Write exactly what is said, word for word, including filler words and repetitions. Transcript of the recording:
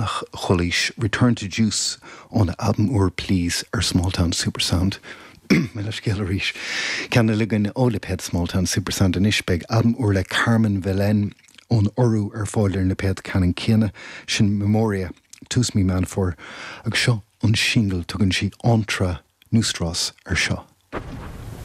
deireanach chualaís Return to Juice óna albam úr Please ar Smalltown Supersound. Mo leithscéal arís. Ceann eile againn ó lipéad Smalltown Supersound anois beidh albam úr le Carmen Vilén ón Iorua ar fáil ar an lipéad ceannann céanna sin Memoria tús mí Meán Fómhair agus seo an singil tugann sí Entre Nosotros ar seo.